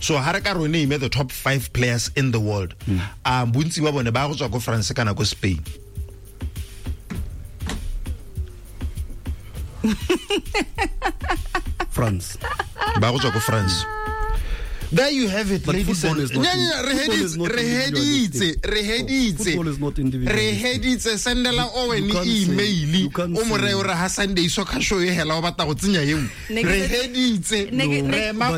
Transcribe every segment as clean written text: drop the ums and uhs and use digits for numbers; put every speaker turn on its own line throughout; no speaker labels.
So ha re ka re name the top 5 players in the world, bontsi ba bone ba go tswa ko France kana ko Spain.
France.
Ba go tswa ko France. There you have it,
but
ladies and
Football is not individual.
Re sendela Owen email o mo re ha Sunday soccer show e hela o batla go tsenya eo. Re heditse re ma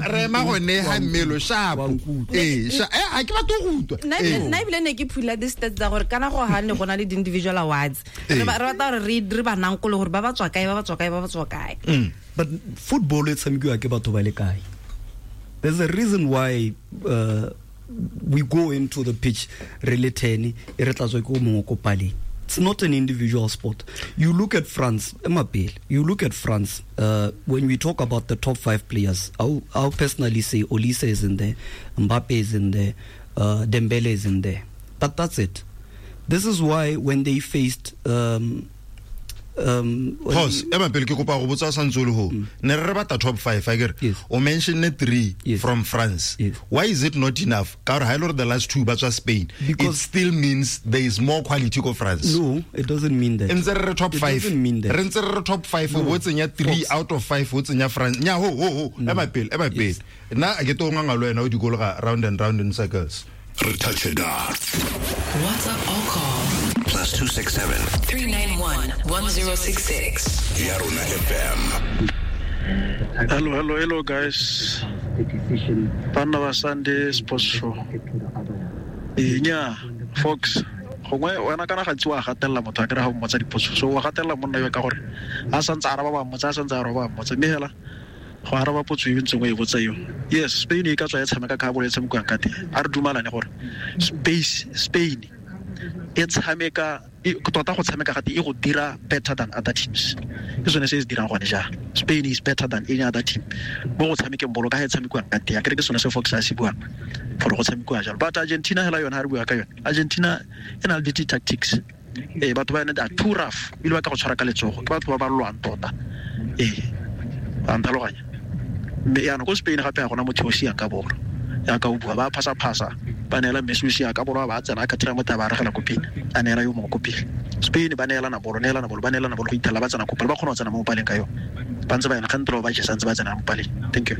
gone ha mmelo sharp. A ke batla go utlwa.
Nna ebile ne ke phula di stats tsa gore kana go ha ne gona le di individual awards. Re batla gore re ba nankolo gore ba ba tswa kae ba ba tswa kae ba ba tswa kae.
But football e tshamekiwa ke batho ba le kae? There's a reason why we go into the pitch re le 10 e re tlatswe ke o mongwe ko paleng. It's not an individual sport. You look at France, you look at France, when we talk about the top 5 players, I'll personally say Olise is in there, Mbappe is in there, Dembele is in there. But that's it. This is why when they faced...
Pause. Ema pele ke kopa go botsa santse le ho. Ne re batla top 5 akere. O mention 3 from France.
Yes.
Why is it not enough? Ka gore ha ile the last 2 ba tswa Spain.
Because
it still means there is more quality ko France.
No, it doesn't mean that.
Ntse re top 5. Re ntse re top 5 o tsenya 3 out of 5 o tsenya France. Nya ho ho ho. Ema pele, ema pele. Nna a ke to nganga le wena o dikologa round and round in circles.
Re touch it up.
WhatsApp or call
+267
391 1066.
Yarona FM.
Hello guys. Banna ba Sunday Sports Show. Nya Fox. Gongwe wena kana ga tsiwa gatella motho a kere ga o mmotsa dipotso. So wa gatella monna yo ka gore a santse araba ba mmotsa a santse araba ba mmotsa mme hela go araba potso e ntseng o e botsa eo. Yes, Spain e ka tswa e tshameka ka bolo e tshamekiwang ka teng. A re dumalane gore Spain e tshameka tota go tshameka gate e go dira better than other teams. Ke sone se se dirang gone ja. Spain is better than any other team. Mo go tshamekeng bolo ka ga e tshamekiwang ka teng. Akere ke sone se Fox a se buang gore go tshamekiwa jalo. But Argentina hela yone ha re bua ka yone. Argentina e na le di tactics. Batho ba yone are too rough. Ebile ba ka go tshwara ka letsogo. Ke batho ba ba lwang tota. Ba ntlhaloganya. Mme yaanong ko Spain gape ga gona motho o siang ka bolo. Ya ka o bua ba phasa ba neela Messi o sia ka bolo ba tsena ka thira motho ba regela ko pele a neela yo mongwe ko pele. Spain ba neelana bolo ba neelana bolo go ithela ba tsena ko pele ba kgona go tsena mo paleng ka yone ba ntse ba ena kgantlo ba jesa ntse ba tsena mo paleng. Thank you.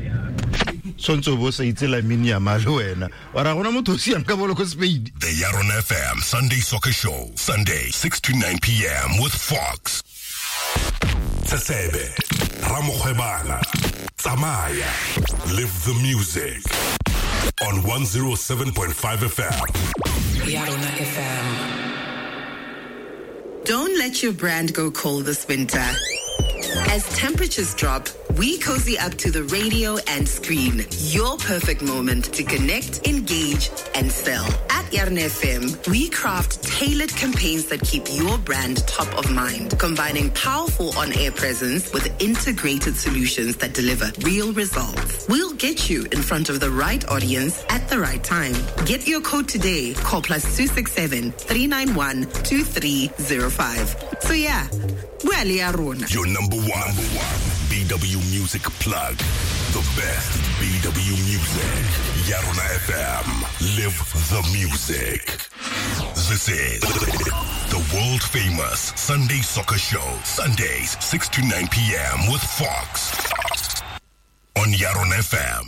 Sontso bo sa itse Lamine Yamal wena wa ra gona motho o siang ka bolo ko Spain.
The Yarona FM Sunday Soccer Show, Sunday 6 to 9 p.m. with Fox. Tsebe Ramokgwebana Tsamaya, live the music on 107.5 FM.
Yarona FM.
Don't let your brand go cold this winter. As temperatures drop, we cozy up to the radio and screen. Your perfect moment to connect, engage, and sell. At Yarona FM, we craft tailored campaigns that keep your brand top of mind, combining powerful on-air presence with integrated solutions that deliver real results. We'll get you in front of the right audience at the right time. Get your quote today. Call +267 391 2305. So yeah, we're Yarona.
Your number one BW Music plug. The best BW music. Yarona FM. Live the music. This is the world famous Sunday Soccer Show. Sundays, 6 to 9 p.m. with Fox. On Yarona FM.